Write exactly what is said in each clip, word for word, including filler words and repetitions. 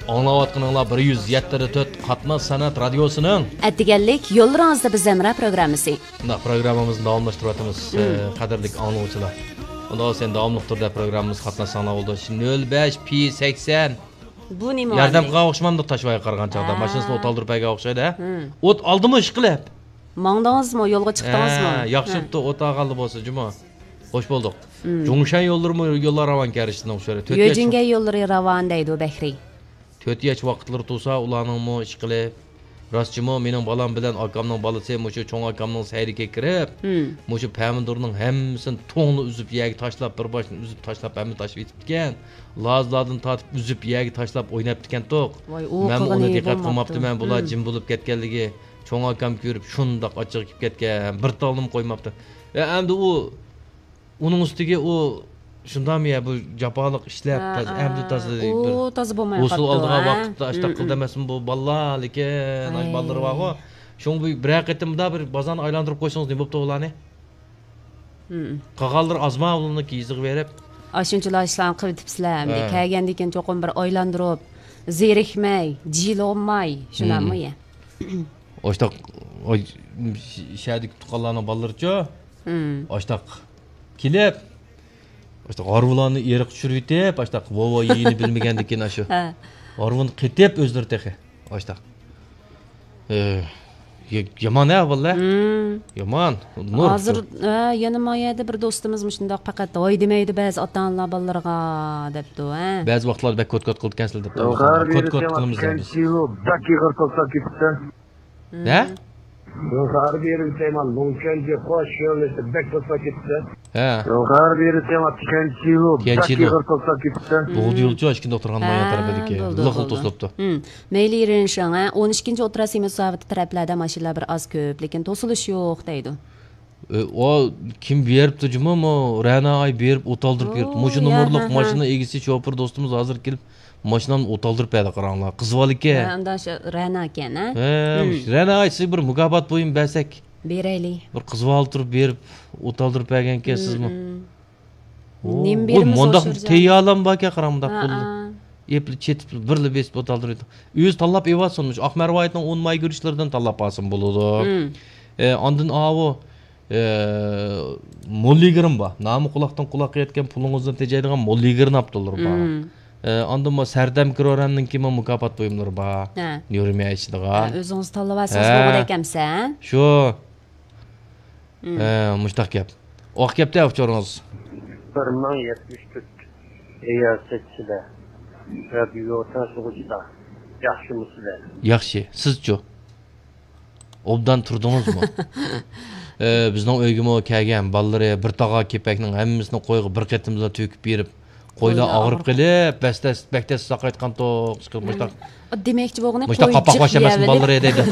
ئاڭلاۋاتقىنىڭلار بىر يۈز يەتتە تۆت قاتناش سەنئەت رادىيوسىنىڭ ئەتىگەنلىك يوللىرىڭىزدا بىز ھەمراھ پروگراممىسى. مۇنداق پروگراممىمىزنى داۋاملاشتۇرۇۋاتىمىز، مم. ئە، قەدىرلىك ئاڭلىغۇچىلار. ئۇنداق بولسا داۋاملىق تۈردە پروگراممىمىزغا قاتناشساڭلار بولىدۇ. شۇ نۆل بەش پى سەكسەن. بۇ نېمە ياردەم قىلغان ئوخشىمامدۇ تاشۋايغا قارىغان چاغدا؟ ھە. ماشىنىسىنى ئوت ئالدۇرۇپ بەرگەن ئوخشايدۇ، ھە؟ مم. ئوت ئالدىمۇ ئىشقىلىپ. ماڭدىڭىزمۇ، يولغا چىقتىڭىزمۇ؟ ھە، ياخشى بوپتۇ، ئوت ئالغانلا بولسا جۇمۇ. خوش بولدۇق. مم. جۇڭشەن يوللىرىمۇ يوللار راۋان كەرىشتىنىڭ ئۇچۇرى. تۆت ياچ يۆجىنگەن يوللىرى راۋان دەيدۇ بەھرى. تۆت ياچ ۋاقىتلىرى تۇرسا، ئۇلارنىڭمۇ ئىشقىلىپ. راستچىمۇ، مېنىڭ بالام بىلەن ئاكامنىڭ بالىسى مۇشۇ چوڭ ئاكامنىڭ سەيلىكىگە كىرىپ، مم. مۇشۇ پەمىدۇرنىڭ ھەممىسىنى توڭلا ئۈزۈپ يەرگە تاشلاپ، بىر باشتىن ئۈزۈپ تاشلاپ، ھەممە تاشلاپ يېتىپتىكەن. لازلادىن تارتىپ ئۈزۈپ يەرگە تاشلاپ ئويناپتىكەنتۇق. ۋاي، ئۇ مەنمۇ قىلغىنى ئۇنى دىققەت بولماپتۇ. قىلماپتىمەن، بۇلار مم. جىم بولۇپ كەتكەنلىكى. چوڭ ئاكام كۆرۈپ شۇنداق ئاچچىقى كېلىپ كەتكەن، بىر تالنىمۇ قويماپتۇ. ئە، ئەمدى ئۇ، ئۇنىڭ ئۈستىگە ئۇ شۇنداقمۇ يا، بۇ جاپالىق ئىشلەپ، ھە، تازا، ھە. ئەمدى تازا ئۇ بىر تازا بولماي ھوسۇل قاپتۇ، ئالىدىغان ھە؟ ۋاقىتتا ئاشتاق مم، قىل مم. دېمەسمۇ بۇ بالىلار، لېكىن ئاي. ئاش بالىلىرى بارغۇ. شۇڭا بۇ بىرەر قېتىم مۇنداق بىر بازارنى ئايلاندۇرۇپ قويسىڭىز نېمە بوپتۇ ئۇلارنى؟ مم. قالغانلىرى ئازما ئۇلارنى يېزىغا بېرىپ. ئاشۇنچىلا ئىشلارنى قىلىۋېتىپسىلەر ئەمدى. ھە. كەلگەندىن كېيىن چوقۇم بىر ئايلاندۇرۇپ، زېرىكمەي، جىلغىماي، شۇنداقمۇ مم. يا؟ ئاشتاق، ئاي، شەھەردىكى تۇغقانلارنىڭ بالىلىرىچۇ؟ مم. ئاشتاق كېلىپ، ئاشتاق ھارۋىلارنى ئېرىققا چۈشۈرۈۋېتىپ، ئاشتاق ۋاۋا يېيىنى بىلمىگەندىكىن ئاشۇ. ھە. ھارۋىنى قېتىپ ئۆزلىرى تېخى. ئاشتاق. ئى، ي-، يامان ھە، بالىلار. مم. يامان. نۇر. ھازىر، ھە، يەنە ما يەردە بىر دوستىمىز مۇشۇنداق پەقەت ھاي دېمەيدۇ بەزى ئاتا-ئانىلار بالىلىرىغا دەپتۇ، ھە. بەزى ۋاقىتلاردا بەك كوت-كوت قىلىدىكەنسىلەر دەپتۇ. كوت-كوت قىلىمىز دەيمىز. بەك ئېغىر توساپ كېتىپتۇ. نە؟ يۇقىرى بېرىپ دەيمەن، لۇڭكەنجى قوش يۆنىلىشى بەك توسا كېتىپتۇ. ھە. يۇقىرى بېرىپ دەيمەن، تيەنچيلۇ بەك تيەنچيلۇ. ئېغىر توسا كېتىپتۇ. بولدى يولچۇ، ئاشكىندە ئولتۇرغان مايان ھە، تەرەپىدىكى. بولدى، لىق بولدى. توسۇلۇپتۇ. ھىم. مەيلى رېنشىڭ، ھە، ئون ئىككىنچى ئوتتۇرا سېمىز ساۋىتى تەرەپلەردە ماشىنىلار بىر ئاز كۆپ، لېكىن توسۇلۇش يوق دەيدۇ. ئۆ، ئۇ كىم بېرىپتۇ جۇمۇ، مۇ، رەنا ئاي بېرىپ ئوت ئالدۇرۇپ يۈرۈپتۇ. مۇشۇ ئۇ، يا، نومۇرلۇق ھە، ھە. ماشىنا ئىگىسى، شوپۇر دوستىمىز ھازىر كېلىپ ماشىنامنى ئوت ئالدۇرۇپ بەردى، قاراڭلار. قىز بالىكەن. ھە، ئۇنداق شۇ رەنا ئىكەن، ھە؟ ھە، ھىم. مۇشۇ رەنا ئاي، سىزگە بىر مۇكاپات بۇيۇم بەرسەك. بېرەيلى. بىر قىز بالا تۇرۇپ بېرىپ ئوت ئالدۇرۇپ بەرگەنكەن سىزمۇ. ھىم، ھىم. ئو، نېمە ئۋاي، بېرىمىز مۇنداق ئوشۇرجان؟ تەييارلام باركەن، قاراڭ، مۇنداق ھە، قول ھە. ئېپلا چېتىپ، بىرلا بېسىپ ئوت ئالدۇرىدۇ. ئۆزى تاللاپ ئېۋالسۇن، مۇشۇ ئاق مەرۋايىتنىڭ ئون ماي گۈرۈچلىرىدىن تاللاپ ئالسىمۇ بولىدۇ. ھىم. ئە، ئاندىن ئاۋۇ، ئە، موللىگىرىم بار. نامى قۇلاقتىن قۇلاققا يەتكەن، پۇلىڭىزنى تېجەيدىغان موللىگىرنى ئاپتۇلار بار. ھىم. ئە، ئاندىن بۇ سەردەم كرورەمنىڭكىمۇ مۇكاپات بۇيۇملىرى بار. ھە. نيۇرميا ئىچىدىغان. ھە، ئۆزىڭىز تاللىۋالسىڭىز ھە. بولغۇدەك ئەمسە، ھە؟ شۇ. ھىم. ھە، مۇشتاق گەپ. ئاق گەپتە ئۇچۇرىڭىز. بىر مىڭ يەتمىش تۆت رىياسەتچىلەر، رادىيو تىڭشىغۇچىلار، ياخشىمۇسىلەر؟ ياخشى، سىزچۇ؟ ئوبدان تۇردىڭىزمۇ؟ ئە، بىزنىڭ ئۆيگىمۇ كەلگەن بالىلىرى بىر تاغار كېپەكنىڭ ھەممىسىنى قويغا بىر قېتىمدىلا تۆكۈپ بېرىپ، قويلار قويلار ئاغرىپ ئاغرىپ. قېلىپ، بەس-، بەك تەس ساقايتقانتۇق. مۇشتاق، دېمەكچى بولغىنى مۇشتاق قوي قاپاق جىق باشلىماسمۇ يەۋېلىپ. بالىلىرى دەيدۇ.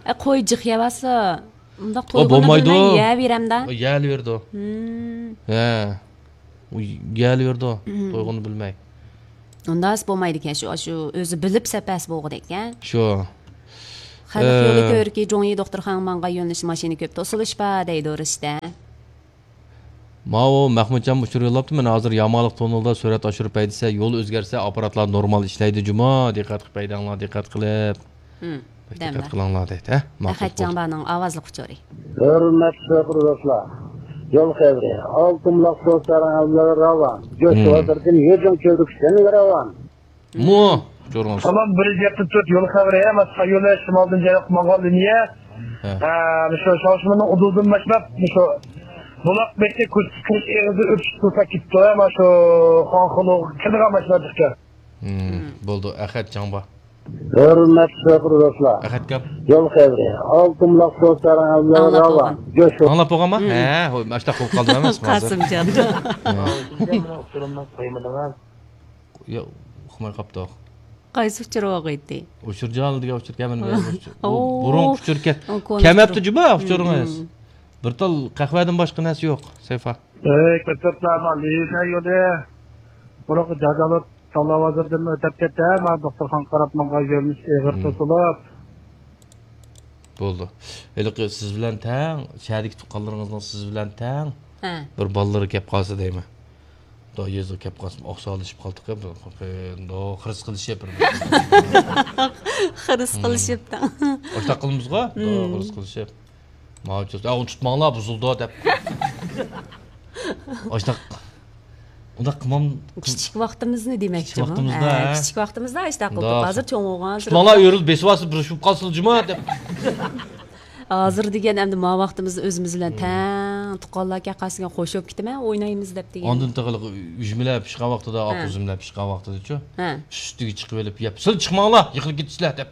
ئە، قوي جىق يەۋالسا، ئۇنداق ئۇ تويغۇنى بولمايدۇ. بىلمەي يەۋېرەمدە. ئۇ يەلىۋېرىدۇ. ھىم. ھە. ئۇ يەلىۋېرىدۇ. ھىم. تويغۇنى بىلمەي. ئۇنداق بولمايدىكەن، شۇ، شۇ ئۆزى بىلىپ سەپەس بولغۇدەككەن. شۇ. خەلق ئە. يولى كۆركى جۇڭيى دوختۇرخانىغا ماڭغان يۆنىلىش ماشىنا كۆپ، توسۇلۇش بار دەيدۇ رىشتە. ماۋۇ مەخمۇتجان ئۇچۇر يوللاپتۇ، مانا ھازىر يامانلىق تونۇلدا سۈرئەت ئاشۇرۇپ ھەيدىسە، يول ئۆزگەرسە، ئاپپاراتلار نورمال ئىشلەيدۇ جۇمۇ، دىققەت قىلىپ ھەيدەڭلار، دىققەت قىلىپ. ھىم، بەك دىققەت دەمدە. قىلىڭلار دەيدۇ، ھە؟ ماقۇل، ئەخەتجان بولدى. بارنىڭ ئاۋازلىق ئۇچۇرى. ھۆرمەتلىك دوستلار، يول خەۋىرى، ئالتۇن بۇلاق سۇ سارىيى ئەۋلىدىن راۋان، جوش ھىم. بازىرىدىن يۈجۈڭ چۆلدۈك سەن راۋان. مۇ، ئۇچۇرىڭىز. سالام، بىر يۈز يەتتە تۆت يول خەۋىرى، مەن سايولە شىمالدىن جەنۇبقا ماڭغان لىنىيە. ھە. ھە، مۇشۇ شاۋشىمىنىڭ ئۇدۇلىدىن باشلاپ، مۇشۇ بۇلاق بېشى كۆچۈپ كىرىش ئېغىزى ئۆتۈش تۇرسا كېتىپتۇ، ھە، مانا شۇ خانخۇلۇغا كېلىدىغان ماشىنا چىقتى. ھىم، بولدى، ئەخەت جاڭبا. ھۆرمەتلىك شوپۇر دوستلار. ئەخەت گەپ. يول خەۋىرى. ئالتۇن بۇلاق سۇ سارىيى ئەۋلىدىن ئاڭلاپ راۋان. بولغان. جوش. ئاڭلاپ بولغانما؟ ھىم. ھە، ھوي، ئاشتاق بولۇپ قالدىم ئەمەسمۇ ھازىر؟ قاسىمجان. ھە. ئۇچۇرۇمنى قويمىدىڭىز. ياق، ئۇقماي قاپتۇق. قايسى ئۇچۇر بولغىيتتى؟ ئۇچۇر جالى دېگەن ئۇچۇر كەلمىدى. ئۇ ئوو. بۇرۇنقى ئۇچۇر كەل-، ئۇ كونا كەلمەپتۇ ئۇچۇر. جۇمۇ ئۇچۇرىڭىز. مم. بىر تال قەھۋەدىن باشقا نەرسە يوق، سەيفا. ئەي، كۆتۈرۈپلەرما لىنىيە يولى. بۇرۇنقى جاجالىق تاللا بازىرىدىن ئۆتۈپ كەتتى، مانا دوختۇرخانىغا قاراپ ماڭغان يۆنىلىش ئېغىر مم. توسۇلۇپ. بولدى. ھېلىقى سىز بىلەن تەڭ، شەھەردىكى تۇغقانلىرىڭىزنىڭ سىز بىلەن تەڭ ھە. بىر بالىلىرى كەپ قالسا دەيمەن. دا يېزىغا كەپ قالسام، ئاقساقلىشىپ قالدۇق، بىر، بىر، بىر، خىرىس قىلىشىپ، بىر، بىر. خىرىس قىلىشىپ. ئاشتاق قىلىمىزغۇ؟ دا، خىرىس قىلىشىپ. ماۋۇ چوز، ئە، ئۇنى تۇتماڭلار، بۇزۇلىدۇ، دەپ. ئاشتاق. ئۇنداق قىلمام. كىچىك ۋاقتىمىزنى دېمەكچىمۇ؟ كىچىك ۋاقتىمىزدا، ھە، ھە. كىچىك ۋاقتىمىزدا ئاشتاق قىلدۇق. ھازىر چوڭ بولغان. تۇتماڭلار، ئۆرۈلۈپ بېسىۋالسا، بىر شۇپ قالسىلا جۇما، دەپ. ھازىر دېگەن ئەمدى ما ۋاقتىمىزدا ئۆزىمىز بىلەن تەڭ تۇغقانلار كەپ قالسا، قوشۇلۇپ كېتىمەن، ئوينايمىز دەپ دېگەن. ئاندىن تېخى ئۈجمىلەر پىشقان ۋاقتىدا، ھە، ئاق ئۈزۈملەر پىشقان ۋاقتىدىچۇ، ھە، ئۈستىگە چىقىۋېلىپ يەپ، سىلەر چىقماڭلار، يىقىلىپ كېتىسىلەر دەپ.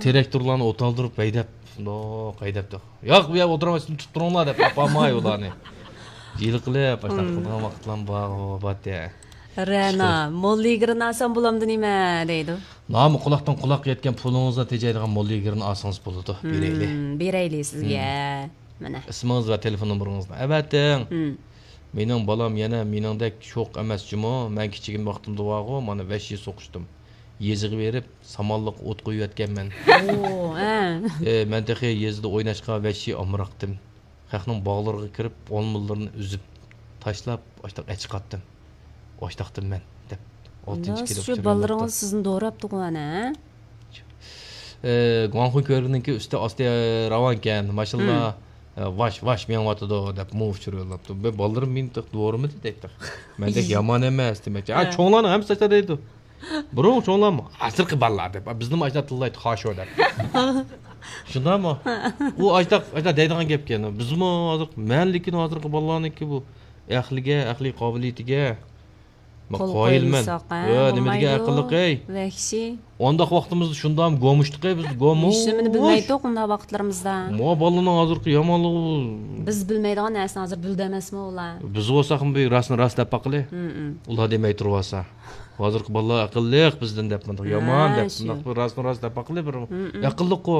تىراكتورلارنى ئولتۇرۇپ ھەيدەپ، شۇنداق ھەيدەپ، ياق، بۇ يەردە ئولتۇرماي، سىلەر تۇتۇپ تۇرۇڭلار دەپ ئاپارماي ئۇلارنى. ھىيلە قىلىپ، ئاشۇنداق قىلىدىغان ۋاقىتلارمۇ بار، باتتى. رەنا، موللا يىگىرنى ئالسام بولامدۇ نېمە دەيدۇ. نامۇ قۇلاقتىن قۇلاققا يەتكەن پۇلىڭىزنى تېجەيدىغان موللا يىگىرنى ئالسىڭىز بولىدۇ. بېرەيلى. ھىم، بېرەيلى سىزگە. مانا. ئىسمىڭىز ۋە تېلېفون نومۇرىڭىزنى ئەۋەتىڭ. ھىم. مېنىڭ بالام يەنە مېنىڭدەك شوخ ئەمەس جۇمۇ. مەن كىچىكىم ۋاقتىمدا بارغۇ، مانا ۋەھشىي سوقۇشتۇم. يېزىغا بېرىپ، سامانلىققا ئوت قويۇۋەتكەنمەن. ئو، ھە. ئى، مەن تېخى يېزىدا ئويناشقا ۋەھشىي ئامراقتىم. خەقنىڭ باغلىرىغا كىرىپ، ئالمىلىرىنى ئۈزۈپ تاشلاپ، ئاشتاق ئەچىقاتتىم. ئاشتاقتىم مەن، دەپ، ئالتىنچى كىلىپ شۇ بالىلىرىڭىز سىزنى دوراپتىغۇ ئەنە، ھە؟ ئى، گۇاڭخۇي كۆۋرۈكىنىڭكى ئۈستى ئاستى راۋانكەن، ماشىنىلار، ھىم، ئى، ۋاش، ۋاش مېڭىۋاتىدۇ، دەپ، مۇ ئۇچۇر يوللاپتۇ. بۇ بالىلىرىم مېنى تېخى دورىمىدى دەيتتى. مەندەك يامان ئەمەس، دېمەكچى. ھە. چوڭلارنىڭ ھەممىسى ئاشۇنداق دەيدۇ. بۇرۇن چوڭلارمۇ، ھازىرقى بالىلار دەپ، بىزنىمۇ ئاشۇنداق تىللايتتى، خاشو دەپ. شۇنداقمۇ؟ ئۇ ئاشۇنداق، ئاشۇنداق دەيدىغان گەپكەن. بىزمۇ ھازىر، مەن لېكىن ھازىرقى بالىلارنىڭكى بۇ ئەقلىگە، ئەقلىي قابىلىيىتىگە قول قايىلمەن. قويمىساق، ھە، يا، نېمە دېگەن بولمايدۇ. ئەقىللىق، ئەي؟ ۋەھشىي. ئانداق ۋاقتىمىزدا شۇنداق گومۇشتۇق، ئەي، بىز گومۇش. ھېچنېمىنى بىلمەيتتۇق ئۇنداق ۋاقىتلىرىمىزدا. ما بالىنىڭ ھازىرقى يامانلىقى بۇ. بىز بىلمەيدىغان نەرسىنى ھازىر بىلدى ئەمەسمۇ ئۇلار؟ بىز بولساقمۇ بىر راستنى راست دەپ باقىلى. ھىم، ھىم. ئۇلار دېمەي تۇرۇۋالسا. ھازىرقى بالىلار ئەقىللىق بىزدىن دەپ، مۇنداق ھە، يامان دەپ، شۇ. مۇنداق بىر راستنى راست دەپ باقىلى بىر. ھىم، ھىم. ئەقىللىققۇ.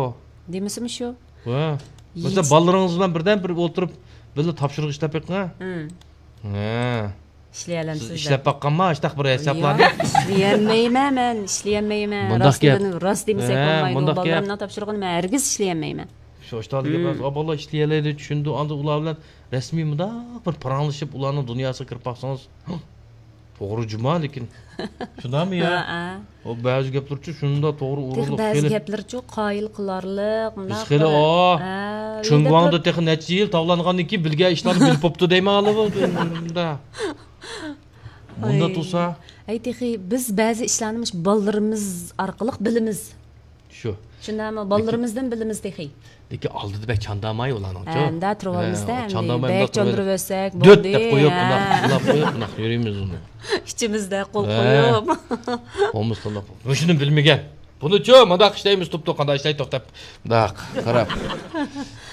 دېمىسىمۇ شۇ. ۋە. مەسىلەن، بالىلىرىڭىز بىلەن بىردەم بىر ئولتۇرۇپ، بىللە تاپشۇرۇق ئىشلەپ بېقىڭ، ھە؟ ھىم. ھە. سىز ئىشلىيەلەمسىز دەپ. ئىشلەپ باققانما، ئاشتاق بىر ھېسابلارنى؟ ياق، ئىشلىيەلمەيمەن مەن، ئىشلىيەلمەيمەن. مۇنداق گەپ. راستىنى، راست دېمىسەك ھە، بولمايدۇ. مۇنداق گەپ. بالىلىرىمنىڭ تاپشۇرۇقىنى مەن ھەرگىز ئىشلىيەلمەيمەن. شۇ ئاشتاق دېگەن ھىم. ئا، بالىلار ئىشلىيەلەيدۇ، چۈشىنىدۇ. ئاندىن ئۇلار بىلەن رەسمىي مۇنداق بىر پاراڭلىشىپ، ئۇلارنىڭ دۇنياسىغا كىرىپ باقسىڭىز، توغرا جۇما، لېكىن. شۇنداقمۇ يا؟ ھە، ھە. ئۇ بەزى گەپلىرىچۇ شۇنداق توغرا تېخى ئۇرۇلۇپ بەزى كېلىپ. گەپلىرىچۇ قايىل قىلارلىق، بىز مۇنداق خېلى، بىر، ئا، ھە، چۈنگۋاڭدا تېخى نەچچە يىل تاۋلانغاندىن كېيىن بىلگەن ئىشلارنى بىلىپ بوپتۇ دەيمەن ھالى بۇ. مۇنداق تۇرسا. ھەي، تېخى بىز بەزى ئىشلارنى مۇشۇ بالىلىرىمىز ئارقىلىق بىلىمىز. شۇ. شۇنداقمۇ؟ لېكىن بالىلىرىمىزدىن بىلىمىز تېخى. لېكىن ئالدىدا بەك چانداماي ئۇلارنىڭچۇ؟ ھە، ئەمدى تۇرۇۋالىمىزدە، ھە، ئەمدى چانداماي بەك چاندۇرۇۋەتسەك دۆت بولدى، دەپ قويۇپ، ھە. بۇنداق، بۇنداق قويۇپ، بۇنداق يۈرىمىز ئۇنى. ئىچىمىزدە قول قويۇپ. ھە. قومۇس قىلىپ. مۇشۇنى بىلمىگەن. بۇنىچۇ، مۇنداق ئىشلەيمىز، توپتۇ، قانداق ئىشلەيتتۇق دەپ، مۇنداق قاراپ.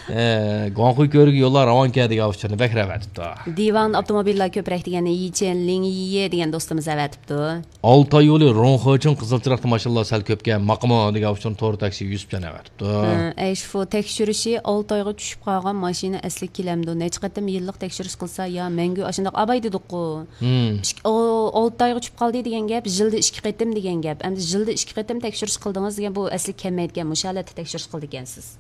ئە، گۇاڭخۇي كۆۋرۈكى يوللار راۋانكەن دېگەن ئۇچۇرنى بەك رەۋەتىپتۇ. دىۋان ئاپتوموبىللار كۆپرەك دېگەن يىچېن لىڭيى دېگەن دوستىمىز ئەۋەتىپتۇ. ئالتاي يولى روڭخېچىڭ قىزىل چىراغدا ماشىنىلار سەل كۆپكەن، ماقىمۇ دېگەن ئۇچۇرنى تور تاكسى يۈسۈپجان ئەۋەتىپتۇ. ھە، ئەيشفۇ تەكشۈرۈشى ئالتايغا چۈشۈپ قالغان ماشىنا ئەسلىگە كېلەمدۇ؟ نەچچە قېتىم يىللىق تەكشۈرۈش قىلسا يا مەڭگۈ ئاشۇنداق ئاباي دېدۇققۇ. ھىم. ئىككى، ئو، ئالتايغا چۈشۈپ قالدى دېگەن گەپ، يىلدا ئىككى قېتىم دېگەن گەپ. ئەمدى يىلدا ئىككى قېتىم تەكشۈرۈش قىلدىڭىز دېگەن بۇ ئەسلىگە كەلمەيدىكەن، مۇشۇ ھالەتتە تەكشۈرۈش قىلىدىكەنسىز.